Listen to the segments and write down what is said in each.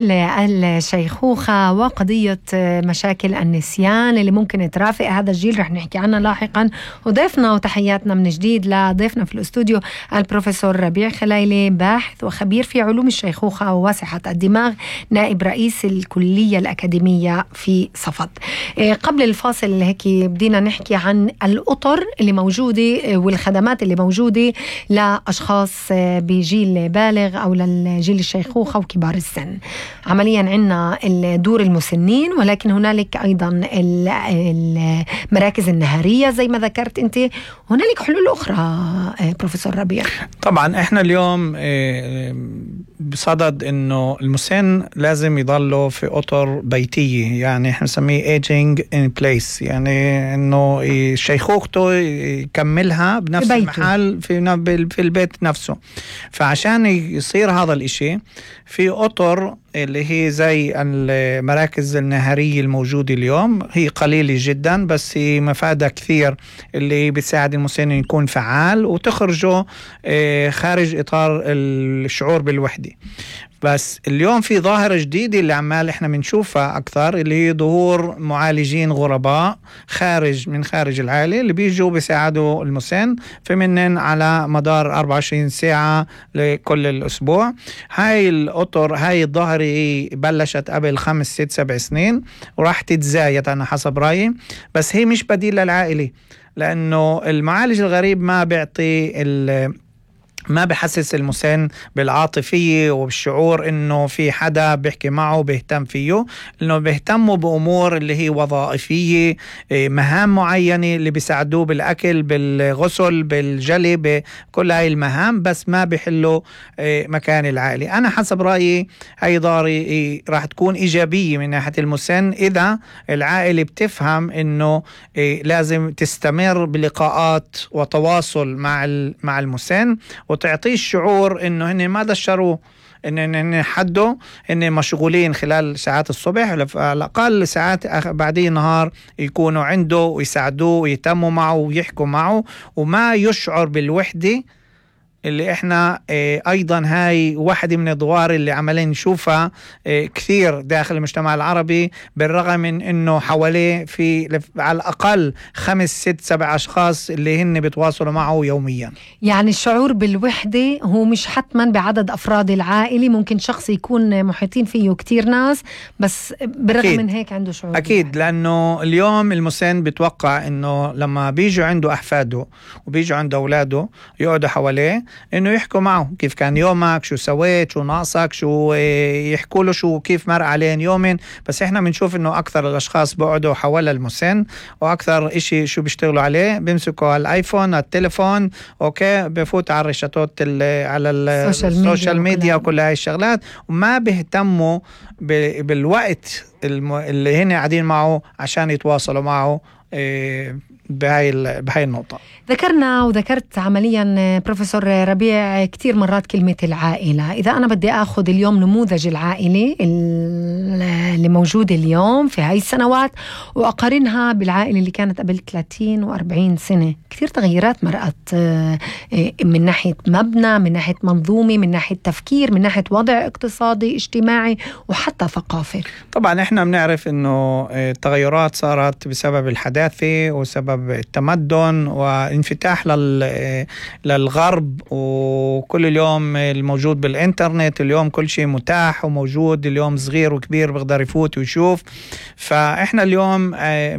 الشيخوخة وقضية مشاكل النسيان اللي ممكن ترافق هذا الجيل رح نحكي عنها لاحقا. وضيفنا وتحياتنا من جديد لضيفنا في الاستوديو البروفيسور ربيع خليلي، باحث وخبير في علوم الشيخوخة وصحة الدماغ، نائب رئيس الكلية الأكاديمية في صفد. قبل الفاصل هيك بدينا نحكي عن الأطر اللي موجودة والخدمات اللي موجودة لأشخاص بجيل بالغ أو للجيل الشيخوخة وكبار السن. عمليا عندنا الدور المسنين، ولكن هنالك أيضا المراكز النهارية زي ما ذكرت أنت، هنالك حلول أخرى بروفيسور ربيع. طبعا إحنا اليوم بصدد إنه المسن لازم يضله في أطر بيتية، يعني إحنا نسميه aging in place، يعني إنه شيخوخته يكملها بنفس المحل في البيت نفسه. فعشان يصير هذا الإشي في أطر اللي هي زي المراكز النهارية الموجودة اليوم، هي قليلة جدا بس هي مفادها كثير، اللي بتساعد المسن يكون فعال وتخرجه خارج إطار الشعور بالوحدة. بس اليوم في ظاهرة جديدة اللي عمال احنا بنشوفها أكثر، اللي هي ظهور معالجين غرباء من خارج العائلة اللي بيجوا بيساعدوا المسن في منن على مدار 24 ساعة لكل الأسبوع. هاي الأطر هاي الظاهرة بلشت قبل 5 6 7 سنين وراح تتزايد أنا حسب رأيي، بس هي مش بديل للعائلة، لأنه المعالج الغريب ما بحسس المسن بالعاطفية وبالشعور انه في حدا بيحكي معه بيهتم فيه، انه بيهتموا بامور اللي هي وظائفية، مهام معينة اللي بيساعدوه بالاكل بالغسل بالجلي بكل هاي المهام، بس ما بيحلوا مكان العائلة. انا حسب رأيي هاي ضاري راح تكون ايجابية من ناحية المسن اذا العائلة بتفهم انه لازم تستمر بلقاءات وتواصل مع المسن، وتعطيه الشعور انه هن ما دشروه، ان حده ان مشغولين خلال ساعات الصبح، على الاقل ساعات بعدين نهار يكونوا عنده ويساعدوه ويهتموا معه ويحكوا معه وما يشعر بالوحدة، اللي احنا ايضا هاي واحدة من الادوار اللي عمالين نشوفها كثير داخل المجتمع العربي، بالرغم من انه حواليه في على الاقل 5 6 7 اشخاص اللي هن بيتواصلوا معه يوميا. يعني الشعور بالوحدة هو مش حتما بعدد افراد العائلة، ممكن شخص يكون محيطين فيه كتير ناس بس بالرغم من هيك عنده شعور اكيد بالوحدة. لانه اليوم المسن بتوقع انه لما بيجوا عنده احفاده وبيجوا عنده اولاده يقعدوا حواليه انه يحكوا معه كيف كان يومك، شو سويت، شو ناقصك، شو يحكوا له شو كيف مر عليهم يومين. بس احنا بنشوف انه اكثر الاشخاص بيقعدوا حول المسن، واكثر اشي شو بيشتغلوا عليه بيمسكوا الايفون التليفون، اوكي، بفوت على الرشاتات على السوشيال ميديا وكل هاي الشغلات، وما بيهتموا بالوقت اللي هن قاعدين معه عشان يتواصلوا معه بهاي النقطة. ذكرنا وذكرت عمليا بروفيسور ربيع كتير مرات كلمة العائلة. إذا أنا بدي أخذ اليوم نموذج العائلة اللي موجودة اليوم في هاي السنوات وأقارنها بالعائلة اللي كانت قبل 30 و40 سنة، كتير تغيرات مرأت من ناحية مبنى، من ناحية منظومة، من ناحية تفكير، من ناحية وضع اقتصادي اجتماعي وحتى ثقافة. طبعا احنا بنعرف انه التغيرات صارت بسبب الحداثة وسبب التمدن وانفتاح للغرب، وكل اليوم الموجود بالإنترنت، اليوم كل شيء متاح وموجود، اليوم صغير وكبير بيقدر يفوت ويشوف. فإحنا اليوم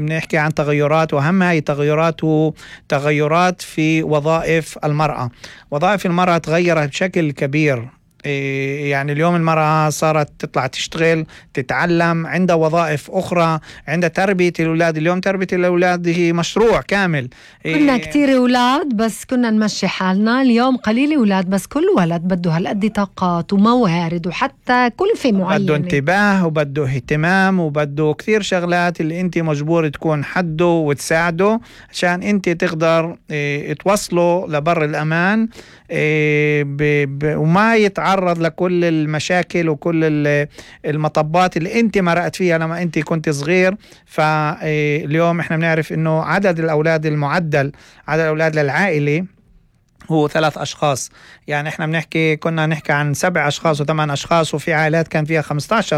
بنحكي عن تغيرات، وأهم هاي التغيرات هو تغيرات في وظائف المرأة. وظائف المرأة تغيرت بشكل كبير، يعني اليوم المرأة صارت تطلع تشتغل، تتعلم، عندها وظائف أخرى، عندها تربية الأولاد. اليوم تربية الأولاد هي مشروع كامل. كنا كتير أولاد بس كنا نمشي حالنا، اليوم قليل أولاد بس كل ولد بده هالقد طاقات وموارد وحتى كلفة معينة، بده انتباه وبده اهتمام وبده كثير شغلات اللي انت مجبور تكون حده وتساعده عشان انت تقدر توصله لبر الأمان، وما يتعرض لكل المشاكل وكل المطبات اللي انت مرقت فيها لما انت كنت صغير. فاليوم احنا بنعرف انه عدد الاولاد المعدل، عدد الاولاد للعائلة هو 3 أشخاص. يعني إحنا كنا نحكي عن 7 أشخاص و8 أشخاص، وفي عائلات كان فيها 15